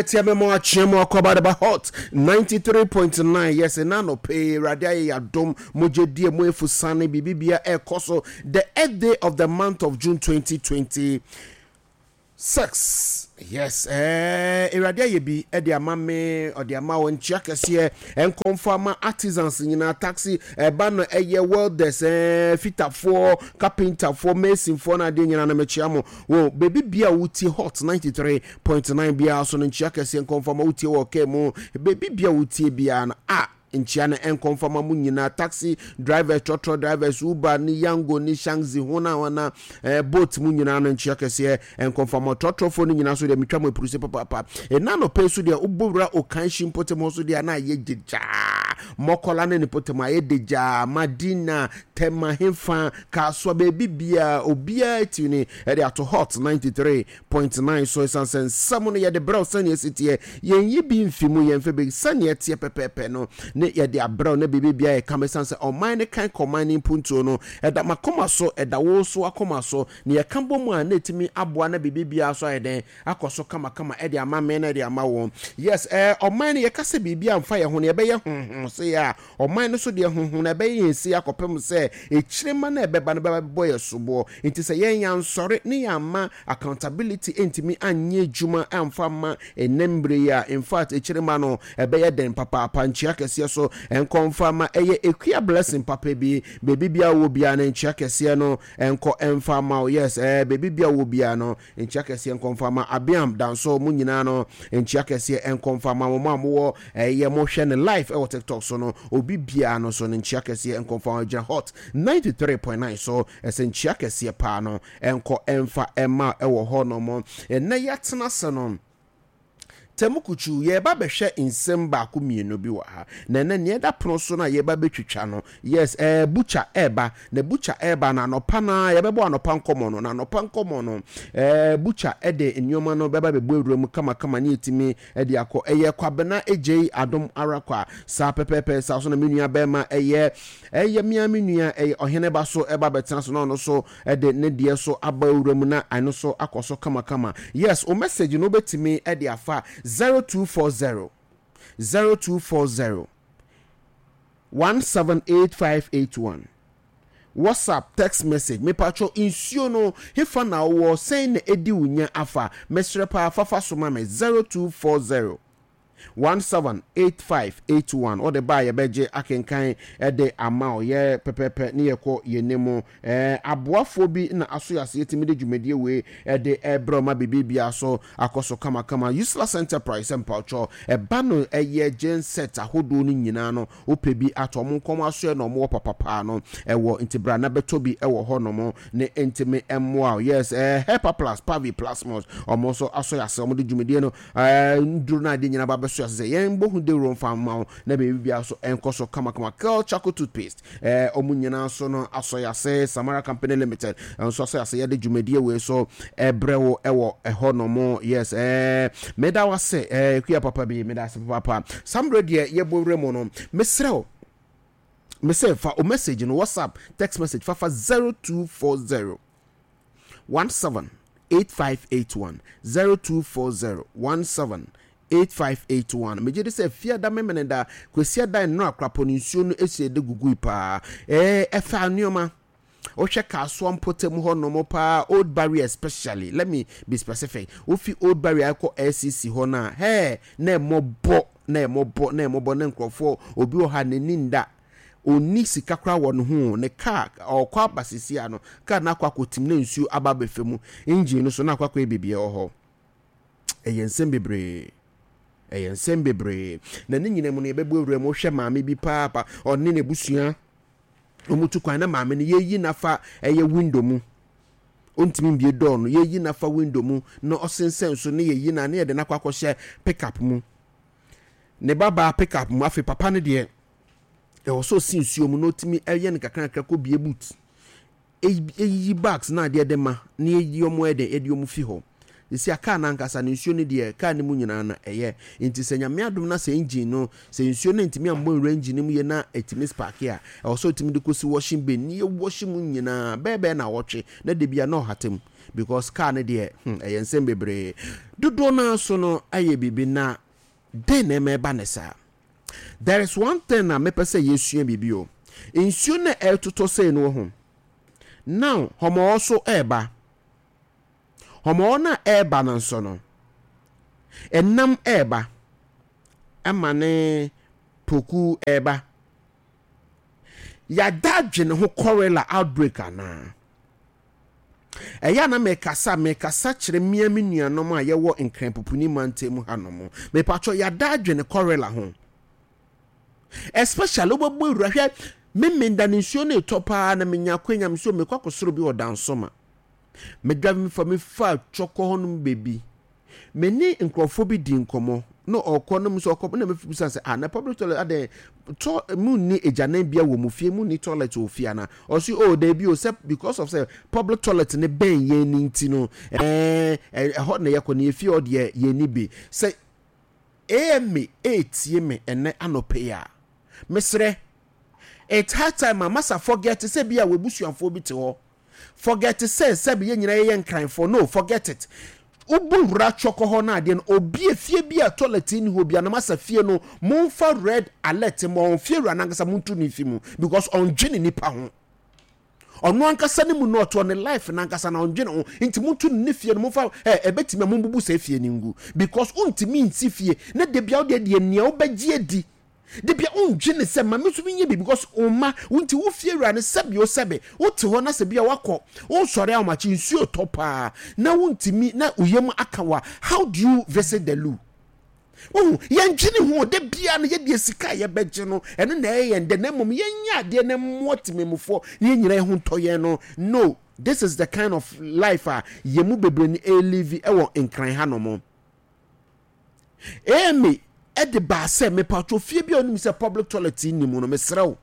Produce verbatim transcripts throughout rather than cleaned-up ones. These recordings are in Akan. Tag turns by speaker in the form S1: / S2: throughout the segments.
S1: Ɛtia mɛmɔ akyeɛ mu akɔba de ba Hot ninety-three point nine. Yes, ɛna anɔpɛ yi Awurade ayɛ yɛadom, mogya die mu efusane biribibia ɛrekɔ so. The eighth day of the month of June twenty twenty-six. Yes, ɛɛ Awurade ayɛ bi ɛde ama me, ɔde ama wɔn. Nkyia kɛseɛ nkɔmfo ama artisans nyinaa, taxi ɛba no, ɛyɛ welders, ɛɛ fitafoɔ, carpenterfoɔ, masonfoɔ na adeɛ nyinaa na mekyia mo wɔ beebi bia wotie Hot ninety-three point nine biara so no. Nkyia kɛseɛ nkɔmfo ama wotie wɔ ɔkaa mu, beebi bia wotie biara no a, nkyia no nkɔmfa ma mu nyinaa, taxi drivers, trɔtrɔ drivers, Uber ne Yango ne Shangzi ho na wana eh, boat mu nyinaa no, nkyia kɛseɛ nkɔmfa ma trɔtrɔfoɔ no nyinaa so deɛ, metwa mo apuruse papaapa. Ɛna nɔpɛ so deɛ, wobɔwura Okaishie mpɔtam hɔ so deɛ, na ayɛ gyegyaa. Mɔkɔla ne ne pɔtam ayɛ degyaa. Madina, Tɛma, Hefa, Kasoa, baabi biaa obiara ti ne ɛde ato Hot ninety-three point nine so, ɛsiane sɛ nsɛm no yɛde brɛw sɛneɛ ɛsi teɛ, yɛnyi bi mfi mu, yɛmfɛ bi sɛneɛ ɛteɛ pɛpɛɛpɛ no ne yɛde abrɛw na biribi biara yɛ kama, ɛsiane sɛ ɔman ne kan kɔ ɔman ne mpuntuo no ɛda makoma so, ɛda wo so akoma so, na yɛka bɔ mu a, na ɛtumi aboa na biribi biara so ayɛ dɛn akɔ so kamakama ɛde ama me na ɛde ama wɔn. Yes, ɛɛ ɔman no, yɛka sɛ biribi amfa yɛn ho no, yɛbɛyɛ honhom se yɛ a ɔman no so deɛ, honhom na ɛbɛyɛ yɛn si akɔpem sɛ ekyirema na ɛbɛba no bɛba bɛbɔ yɛ soboɔ. Nti sɛ yɛn yɛansɔre ne yɛama accountability ntumi anyɛ adwuma amfa ma ɛnɛ mmerɛ yi a, in fact, ekyirema no ɛbɛyɛ den papaapa. Nkyia kɛseɛ so nkɔmfa ma ɛyɛ Ekua Blessing papa bi, beebi bia wɔ bia no, nkyia kɛseɛ no nkɔ ɛmfa ma wo. Yes, ɛɛ beebi bia wɔ bia no, nkyia kɛseɛ nkɔmfa ma Abiam Danso mu nyinaa no, nkyia kɛseɛ nkɔmfa ma mo a mowɔ ɛyɛ mohwɛ ne live ɛwɔ TikTok so no, obi biara no so no, nkyia kɛseɛ nkɔmfa ma gyina Hot ninety-three point nine so. Ɛsɛ nkyia kɛseɛ paa no ɛnkɔ ɛmfa ɛma ɛwɔ hɔ nom. Ɛnɛ yɛatena se no tɛmu kutu, yɛba bɛhwɛ nsɛm baako mmienu bi wɔ ha, na ɛnɛ nea ɛda pono so no a yɛba bɛtwitwa no, yes, ɛɛ butcher ɛɛba, na butcher ɛɛba na anɔpa na yɛbɛbɔ anɔpa nkɔmɔ no, na anɔpa nkɔmɔ no, ɛɛ butcher ɛde nneɛma no bɛba bɛbɔ ewura mu kamakama ne yɛtumi ɛde akɔ. Ɛyɛ Kwabena Egyei Adom Arakwa saa pɛpɛɛpɛ saa so na me nua bɛrima ɛyɛ ɛyɛ mmea me nua ɛyɛ ɔhene ba so ɛba bɛtena so na ɔno so ɛde ne deɛ so aba ewura mu na ɛno so akɔ so kamakama. Yes, o message no wobɛtumi ɛde afa zero two four zero zero two four zero one seven eight five eight one, WhatsApp, text message. Mepatwɔ, nsuo no hefa na wowɔ sɛn na ɛdi wo nya afa? Mesrɛ paa, fafa so ma me, zero two four zero one seven eight five eight one. Ɔde ba a, yɛbɛgye akenkan ɛde ama wo yɛ pɛpɛpɛ ne yɛkɔ yɛn mu. ɛɛ aboafoɔ bi na aso yɛ ase, yɛtumi de dwumadie wei ɛde ɛbrɛ ɔma biribi biara so akɔ so kamakama. Useless Enterprise mpawkyɛw, ɛba no ɛyɛ genset ahodoɔ no nyinaa no, wopɛ bi atɔ, ɔmo nkɔm aso na ɔmo wɔ papapaa no ɛwɔ, nti bra na bɛtɔ bi ɛwɔ hɔ nom ne ntumi ɛmmoa. Yes, ɛɛ Hepa Plus, Pavi Plasmos, ɔmo nso aso yɛ ase, ɔmo de dwumadie no ɛɛ nduro no adeɛ nyinaa ba bɛso yɛ ase sɛ yɛn bɔ ho dewuro mfa mma wo na biribi biara so ɛnkɔ so kamakama. Kel Charcoal toothpaste, ɛɛ ɔmo nyinaa so no asɔ yɛ ase. Samara Company Limited nso asɔ yɛ ase, yɛde dwumadie wei so ɛbrɛ wo ɛwɔ ɛhɔ nom. Yes, ɛɛ meda wase, ɛɛ kuya papa bi, meda ase papa. Sambre deɛ, yɛbɔ wura mu no, mesrɛ wo, mesɛ fa o message no, WhatsApp, text message, fafa zero two four zero one seven eight five eight one, zero two four zero one seven eight five eight one. Megye de sɛ fiada, memene da, Kwasiada, nnora akorapɔ no, nsuo no esi de gugui paa. ɛɛ ɛfa nneɛma wohwɛ Kasoa mpɔtam hɔ nom paa, Old Barrier especially, let me be specific, wofi Old Barrier akɔ L C C hɔ no a, hɛɛ, na ɛmɔbɔ, na ɛmɔbɔ, na ɛmɔbɔ, na nkurɔfoɔ obi wɔ ha n'ani nda, onni sika koraa wɔ ne ho, ne kaa ɔkɔ aba sisi ano, kaa no akɔ akɔtim na nsuo aba abɛfɛ mu, engine no so na akɔ akɔyɛ biribi wɔ hɔ. Ɛyɛ nsɛm bebree, ɛyɛ nsɛm bebree, na ne nyinaa mu no, yɛbɛbɔ awura mu. Wohwɛ maame bi paapa, ɔne n'abusua wɔn tu kwan, na maame no yɛyi nafa ɛyɛ window mu, ɔntumi mbie door no, yɛyi nafa window mu na ɔsensɛn so ne yɛyi na ne yɛde n'akɔ akɔhyɛ pickup mu, ne babaa pickup mu. Afei papa no deɛ, ɛwɔ sɛ ɔsi nsuo mu na ɔtumi ɛyɛ no kakra kakra kɔ bie boot, eyiyi bags na adeɛ de ma na yɛyi wɔn ɛdɛ yɛde wɔn fi hɔ esi a kaa n'ankasa no, nsuo no deɛ, kaa no mu nyinaa na ɛyɛ. Nti sɛ Nyame adom na sɛ engine no, sɛ nsuo no ntumi ambɔ nwura engine no mu yie na ɛtumi spark a, ɛwɔ sɛ ɔtumi de kɔsi washing bay ne yɛ wash mu nyinaa bɛɛ bɛɛ na wɔtwe na de bia na ɔhata mu. Because car no deɛ, hmm, ɛyɛ nsɛm bebree. Dodoɔ no ara so no ayɛ biribi na dɛn na ɛma ɛba ne saa? There is one thing a mepɛ sɛ yɛsua biribi o. Nsuo no a ɛretotɔ sei no wɔ ho. Now, hɔmɔɔ so ɛreba. Hɔmɔɔ no a ɛreba no nso no, ɛnam ɛreba. Ɛma ne poku ɛreba. Yɛada adwene ho cholera outbreak anaa? Ɛyɛ a na mekasa, mekasa kyerɛ mmea me nuanom a yɛwɔ Nkran Pupuni mantam hanom. Mepatwɔ, yɛada adwene cholera ho. Especially wobɛbɔ awura hwɛ, me menda ne nsuo no etɔ paa na menya akwanya me so mekɔ akɔsoro bi wɔ Dansoma. Medwa me fa me fa twɔkɔ hɔnom baabi. Me ne nkurɔfoɔ bi di nkɔmmɔ na ɔkɔ na nso ɔkɔ na mebisa sɛ, ah, na public toilet adɛn tɔ mu nni agyanan bia wɔ mu fie, mu nni toilet wɔ fie ana? Ɔsi, oh, daabi o, sɛ because of sɛ public toilet ne bɛn yɛn ne nti no, ɛɛ ɛhɔ na yɛkɔ ne yɛfie hɔ deɛ yɛn ni bi. Sɛ A M A etie me ɛnɛ anɔpɛ yi a, mesrɛ, it's high time a masa forget sɛ bi a wɔabusuafoɔ bi te hɔ, forget sɛ sɛbi yɛn nyinaa yɛyɛ Nkranfoɔ. No, forget it. Wobɔ wura twɔkɔ hɔ no adeɛ no, obi efie bi a toilet ni hɔ bi anam asa fie no, momfa red alert ma wɔn. Fie wura nankasa montu ne fi mu because ɔndwene nipa ho. Ɔno ankasa ne mu na ɔtoɔ ne life nankasa na ɔndwene ho, nti montu ne fie no. Momfa ɛ ɛbɛtumi a mombubu sɛ fie no ngu because wontumi nsi fie na de bia wodeɛ deɛ nea wobɛgye adi de bia wondwene sɛ ma me nso menyɛ bi because wo mma wo nti wo fie wura no. Sɛbi o, sɛbi, wote hɔ na sɛ bia wakɔ wosɔre ahomakye, nsuo tɔ paa na wontumi na wo yam aka wa, how do you visit the loo? Wohu, yɛndwene ho da bia no. Yɛdeɛ sika a yɛbɛgye no, ɛno na ɛyɛ yɛn dɛ, na mmom yɛnyɛ adeɛ na mmoa temamufoɔ na yɛn nyinaa ho ntɔ yɛn no. No, this is the kind of life a yɛn mu bebree no ɛlive ɛwɔ Nkran ha nom. A M A ɛde baa sɛ mepatwo, fie bi a onim sɛ public toilet ni mu no, mesrɛ wo,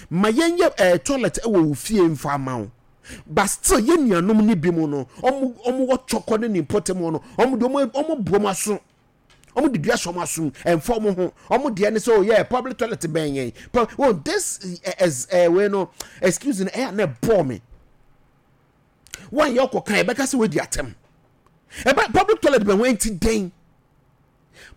S1: ma yɛnyɛ ɛɛ toilet ɛwɔ wo fie mfa ama wo. But still yɛn nuanom ne bi mu no, ɔmo ɔmo wɔ Twɔkɔ ne ne mpɔtam hɔ no, ɔmo de ɔmo ɔmo bu ɔmo aso, ɔmo de dua hyɛ ɔmo asom, ɛnfa ɔmo ho. Ɔmo deɛ ne sɛ, oh yeah, public toilet bɛn yɛn. Oh, this ɛɛ ɛɛ wei no, excuse no, ɛyɛ na ɛbɔɔ me wɔn yɛ ɔkɔ kan ɛbɛka sɛ wɔadi atɛm. Ɛbɛ public toilet bɛn wɔn nti dɛn?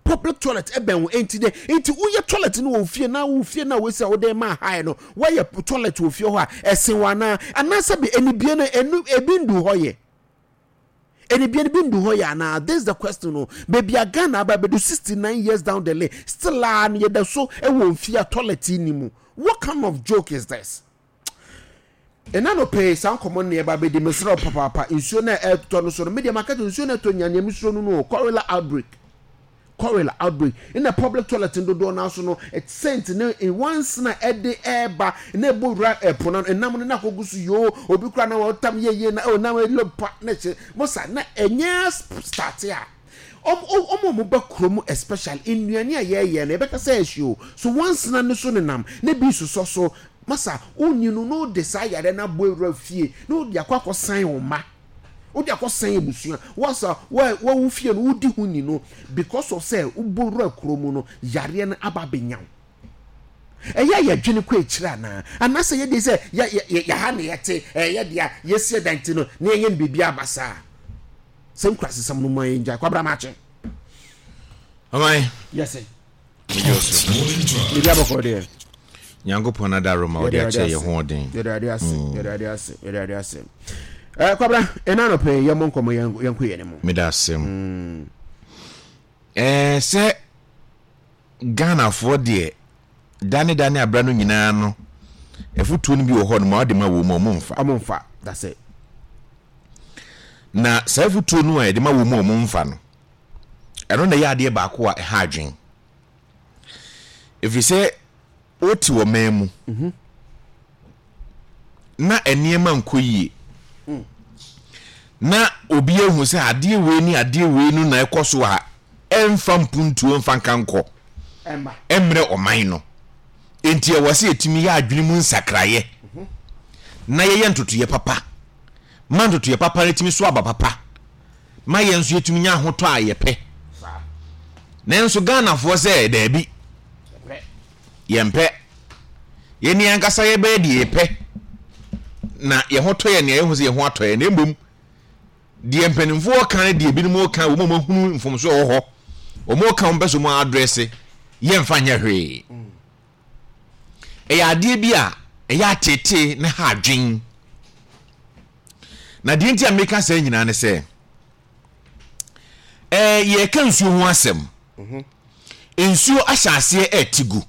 S1: Public toilet ɛbɛn wɔn nti dɛn? Nti woyɛ toilet no wɔ fie na wo fie na wosi a wode ma ha no, wɔyɛ toilet wɔ fie hɔ a ɛsen wɔn anaa anaasɛ bi enibie no enu ebi ndu hɔ yɛ enibie no bi ndu hɔ yɛ anaa? This is the question no. Beebi a Ghana aba bɛdu, sixty nine years down the lane, still a no yɛda so ɛwɔ nfie a toilet ni mu. What kind of joke is this? Ɛna no pɛɛ saa nkɔmɔ no yɛba bɛdi. Mesrɛ papaapa, nsuo no a ɛtɔ no so no, medeɛ maka kyerɛ, nsuo no ɛtɔ nya nea mesuro no no cholera outbreak, cholera outbreak. Ɛna public toilet dodoɔ no aso no scent ne once na ɛde ɛɛba na ɛbɔ wura ɛpo no, ɛnam no na akɔgu so yoo. Obi kora na wɔtam yɛyie na ɛnam ɛlɔ pa na ɛhyɛ mosa na ɛnyɛ start a ɔmo ɔmo ɔmo ba kurom, especially nnuane a yɛyɛ no, yɛbɛka sɛ ɛhye o so once na ne so nenam na bi sosɔ so masa wonni no na wode saa yare no abɔ awura fie na wode akɔ akɔsan wo mma, wode akɔsan abusua wasa wawu fie no wodi ho ni no because of sɛ wobɔ wura kurom no, yareɛ no aba abɛnya wo. Ɛyɛ a yɛdwene kɔ akyire anaa anaasɛ yɛde sɛ yɛha na yɛte ɛyɛ deɛ yɛsi ɛdan ti no na yɛnyɛ no biribi aba saa sɛ nkurasesɛm no mu a yɛngyae kwabra maakye.
S2: Ɔman.
S1: Yes, biribi abɔkɔ deɛ.
S2: Nyankopɔn adaro ma ɔde akyɛ yɛ ho ɔden.
S1: Yɛde ade ase, yɛde ade ase, yɛde ade ase. ɛɛ kwabra, ɛna anɔpɛ yɛmmɔ nkɔmmɔ, yɛnkɔ yɛn mu.
S2: Meda asɛm ɛɛ sɛ Ghanafoɔ deɛ, dane dane abra no nyinaa no, ɛfotuo no bi wɔ hɔ no ma ɔde ma wɔ mu a ɔmo mfa.
S1: Ɔmo mfa, that's it.
S2: Na saa afotuo no a yɛde ma wɔ mu a ɔmo mfa no, ɛno na ɛyɛ adeɛ baako a ɛha adwen, ɛfiri sɛ wote wɔ man mu na nneɛma nkɔ yie na obi ehu sɛ adeɛ wei ne adeɛ wei no na ɛkɔ so a ɛmfa mpuntuo mfa nka nkɔ ɛmmerɛ ɔman no. Nti ɛwɔ sɛ yɛtumi yɛ adwene mu nsakraeɛ na yɛyɛ ntotoyɛ papa ma ntotoyɛ papa no tumi so aba papa ma yɛn nso yɛtumi nya ahotɔ a yɛpɛ. Nanso Ghanafoɔ sɛ daabi, yɛmpɛ. Yɛni ankasa yɛbɛyɛ deɛ yɛpɛ na yɛn ho tɔ yɛn, nea yɛhu sɛ yɛn ho atɔ yɛn, na mmom Deɛ mpanimfoɔ ka ne deɛ ebinom ka, wɔn a wɔahunu mfomsoɔ wɔ hɔ, wɔn ka wɔn pɛ so wɔn address, yɛmfa nyɛ hwee. Ɛyɛ adeɛ bi a ɛyɛ atetee ne ha adwen. Na deɛ nti a meka saa nyinaa ne sɛ, ɛɛ yɛreka nsuo ho asɛm. Nsuo ahyɛ aseɛ ɛrete gu.